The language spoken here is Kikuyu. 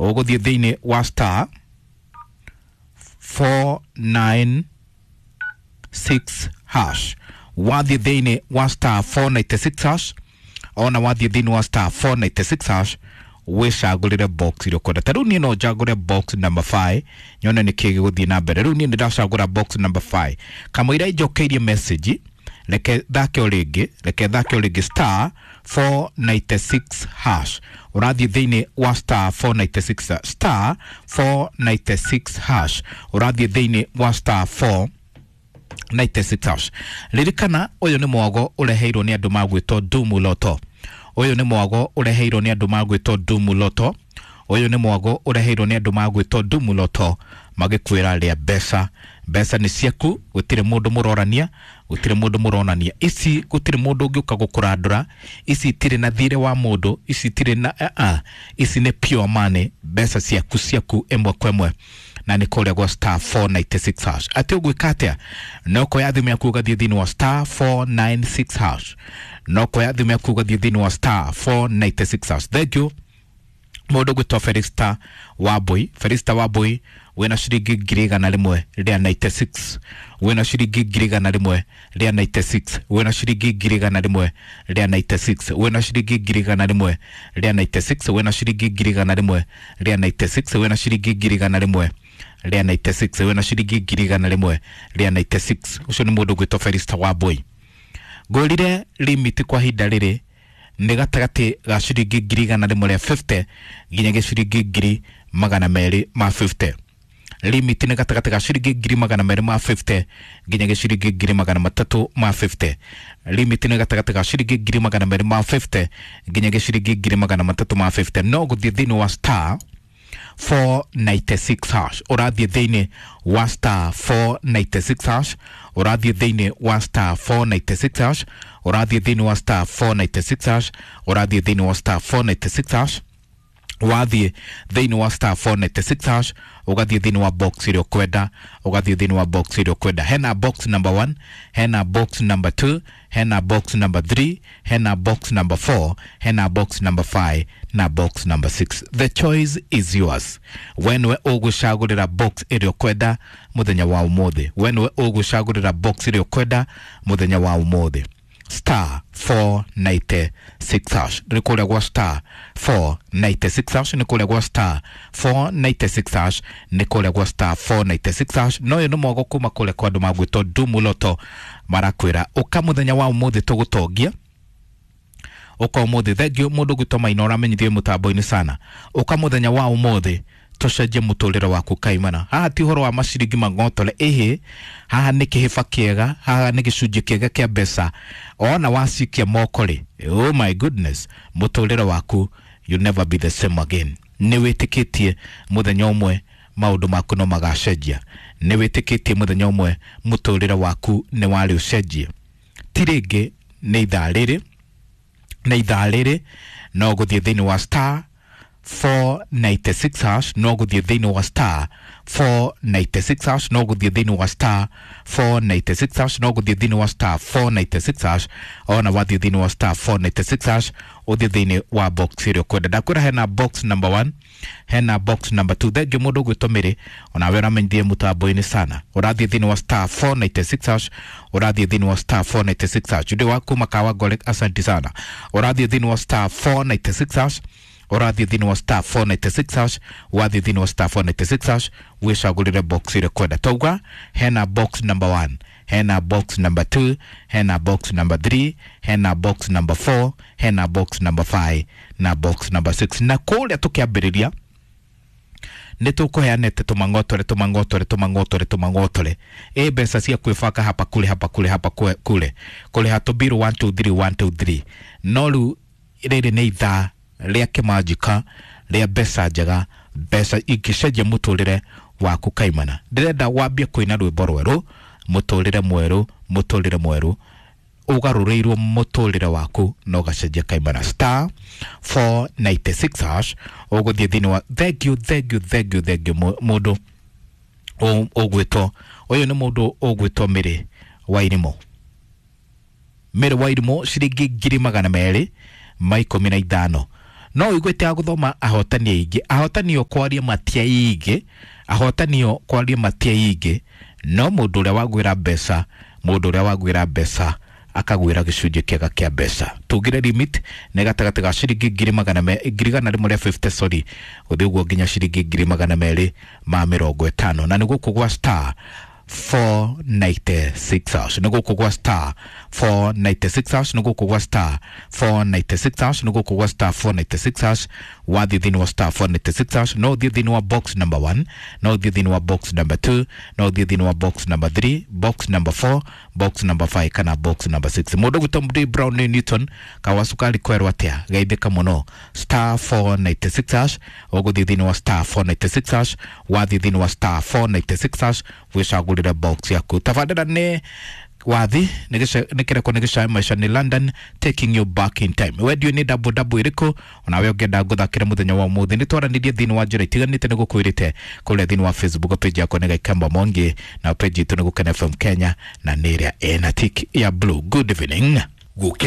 Ũgũthiĩ thĩinĩ wa star 496 hash. Wathiĩ thĩinĩ wa star 496 hash, ona wathiĩ thĩinĩ wa star 496 hash wĩcagũrĩre box ĩrĩa ũkwenda. Ta rĩu niĩ no njagũre box number 5 nyone nĩkĩ gĩgũthiĩ na mbere. Rĩu niĩ nĩndacagũra box number 5 kamũira ĩnjokeirie message. Reke thake o rĩngĩ, reke thake o rĩngĩ star 496 hash. Ũrathiĩ thĩinĩ wa star 496, star 496 hash. Ũrathiĩ thĩinĩ wa star 496 hash. Ririkana ũyũ nĩ mwago ũreheirwo nĩ andũ magwĩtwo Dumu Loto. Ũyũ nĩ mwago ũreheirwo nĩ andũ magwĩtwo Dumu Loto. Ũyũ nĩ mwago ũreheirwo nĩ andũ magwĩtwo Dumu Loto, magĩkwĩra rĩa mbeca. Mbeca nĩ ciaku, gũtirĩ mũndũ mũrorania, gũtirĩ mũndũ mũronania ici, gũtirĩ mũndũ ũngĩũka gũkũrandũra ici, itirĩ na thirĩ wa mũndũ, ici itirĩ na ici nĩ pure money, mbeca ciaku ciaku ĩmwe kwa ĩmwe, na nĩ kũrĩa gwa star 496 hash. Atĩ ũgwĩka atĩa? No kuoya thimũ yaku ũgathiĩ thĩinĩ wa star 496 hash, no kuoya thimũ yaku ũgathiĩ thĩinĩ wa star 496 hash. Thank you mũndũ gwĩtwo Felista Wambui. Felista Wambui wĩna ciringi 196,000, wĩna ciringi 196,000, wĩna ciringi 196,000, wĩna ciringi 196,000, wĩna ciringi 196,000, wĩna ciringi 196,000, wĩna ciringi 196,000. Ũcio nĩ mũndũ gwĩtwo Felista Wambui. Ngũrire limit kwa ihinda rĩrĩ nĩ gatagatĩ ga ciringi 150,000 nginyagia ciringi 250,000. Limit nĩ gatagatĩ ga ciringi 250,000 nginyagia ciringi 350,000. Limit nĩ gatagatĩ ga ciringi 250,000 nginyagia ciringi 350,000. No gũthiĩ thĩinĩ wa star 496 hash. Ũrathiĩ thĩinĩ wa star 496 hash. Ũrathiĩ thĩinĩ wa star 496 hash. Ũrathiĩ thĩinĩ wa star 496 hash. Ũrathiĩ thĩinĩ wa star 496 hash. Wathiĩ thĩinĩ wa star 496 hash ũgathiĩ thĩinĩ wa box ĩrĩa ũkwenda, ũgathiĩ thĩinĩ wa box ĩrĩa ũkwenda. Hena box number 1, hena box number 2, hena box number 3, hena box number 4, hena box number 5 na box number 6. The choice is yours. We nĩwe ũgũcagũrĩra box ĩrĩa ũkwenda mũthenya wa ũmũthĩ. We nĩwe ũgũcagũrĩra box ĩrĩa ũkwenda mũthenya wa ũmũthĩ. Star 496 hash nĩ kũrĩa gwa star 496 hash, nĩ kũrĩa gwa star 496 hash, nĩ kũrĩa gwa star 496 hash. No ũyũ nĩ mwago kuma kũrĩa kwa andũ magwĩtwo Dumu Loto, marakwĩra ũka mũthenya wa ũmũthĩ tũgũtongia. Ũka ũmũthĩ. Thank you mũndũ gwĩtwo Maina, ũramenyithio mũtambo-inĩ sana. Ũka mũthenya wa ũmũthĩ tũcenjie mũtũrĩre waku kaimana. Haha ti ũhoro wa maciringi mang'otore, ĩhĩ, haha nĩ kĩhĩba kĩega, haha nĩ gĩcunjĩ kĩega kĩa mbeca. Ona wacikia moko rĩ, oh my goodness, mũtũrĩre waku you never be the same again. Nĩ wĩtĩkĩtie mũthenya ũmwe maũndũ maku no magacenjia. Nĩ wĩtĩkĩtie mũthenya ũmwe mũtũrĩre waku nĩ warĩ ũcenjie. Ti rĩngĩ nĩ ithaa rĩrĩ, nĩ ithaa rĩrĩ no gũthiĩ thĩinĩ wa star 496 hash, no gũthiĩ thĩinĩ wa star 496 hash, no gũthiĩ thĩinĩ wa star 496 hash, no gũthiĩ thĩinĩ wa star 496 hash. Ona wathiĩ thĩinĩ wa star 496 hash ũthiĩ thĩinĩ wa box ĩrĩa ũkwenda. Ndakwĩra hena box number 1, hena box number 2. Thank you mũndũ ũgwĩtwo Mĩrĩ, onawe ũramenyithie mũtambo-inĩ sana. Ũrathiĩ thĩinĩ wa star 496 hash, ũrathiĩ thĩinĩ wa star 496 hash. Jude wa kuma Kawangware, asante sana. Ũrathiĩ thĩinĩ wa star 496 hash, ũrathiĩ thĩinĩ wa star 496 hash, wathiĩ thĩinĩ wa star 496 hash wĩcagũrĩre box ĩrĩa ũkwenda. Tauga hena box number 1, hena box number 2, hena box number 3, hena box number 4, hena box number 5 na box number 6. Na kũrĩa tũkĩambĩrĩria nĩ tũkũheanĩte tũmang'otore tũmang'otore tũmang'otore tũmang'otore ĩ mbeca cia kwĩbanga hapa kule hapa kule hapa kule kũrĩha tũbiru 1 2 3 1 2 3. No rĩu rĩrĩ nĩ ithaa rĩa kĩmanjĩka rĩa mbeca njega, mbeca ingĩcenjia mũtũrĩre waku kaimana. Ndĩrenda wambie kũina rwĩmbo rwerũ, mũtũrĩre mwerũ, mũtũrĩre mwerũ ũgarũrĩirwo mũtũrĩre waku na ũgacenjia kaimana. Star 496 hash ũgũthiĩ thĩinĩ wa thank you, thank you, thank you, thank you mũndũ ũgwĩtwo ũyũ nĩ mũndũ ũgwĩtwo Mĩrĩ wa Irimũ. Mĩrĩ wa Irimũ ciringi 215,000. No uiguĩte ya gũthoma ahotani aingĩ, ahotani o kwaria matiaingĩ, ahotani o kwaria matiaingĩ, no mũndũ ũrĩa wagwĩra mbeca, mũndũ ũrĩa wagwĩra mbeca akagwĩra gĩcunjĩ kĩega kĩa mbeca. Tugire limit nĩ gatagatĩ ga ciringi ngiri magana me 150,000, sorry, gũthiĩ ũguo nginya ciringi 250,000, na nĩ gũkũ gwa star 496 hash, nĩ gũkũ gwa star 496 hash, nĩ gũkũ gwa star 496 hash, nĩ gũkũ gwa star 496 hash. Wathiĩ thĩinĩ wa star 496 hash, no ũthiĩ thĩinĩ wa box number 1, no ũthiĩ thĩinĩ wa box number 2, no ũthiĩ thĩinĩ wa box number 3, box number 4, box number 5 kana box number 6. Mũndũ gwĩtwo Md Brown nĩ Newton kawa cukari kwerwo atĩa, geithĩka mũno. Star 496 hash, ũgũthiĩ thĩinĩ wa star 496 hash, wathiĩ thĩinĩ wa star 496 hash wĩcagũrĩre box yaku. Tabandĩra nĩ wathi nĩ kĩreko nĩ gĩcae maica nĩ London taking you back in time. Wendio nĩ double double ĩrĩkũ onawe ũngĩenda ngũthakĩre mũthenya wa ũmũthĩ? Nĩ twaranĩrie thĩinĩ wa njĩra itiganĩte nĩ gũkwĩrĩte kũrĩa thĩinĩ wa Facebook page yakwa nĩ Gaikamba Mwangi, na page itũ nĩ Gũkena FM Kenya, na nĩ ĩrĩa ĩna tick ya blue. Good evening. Gũkena.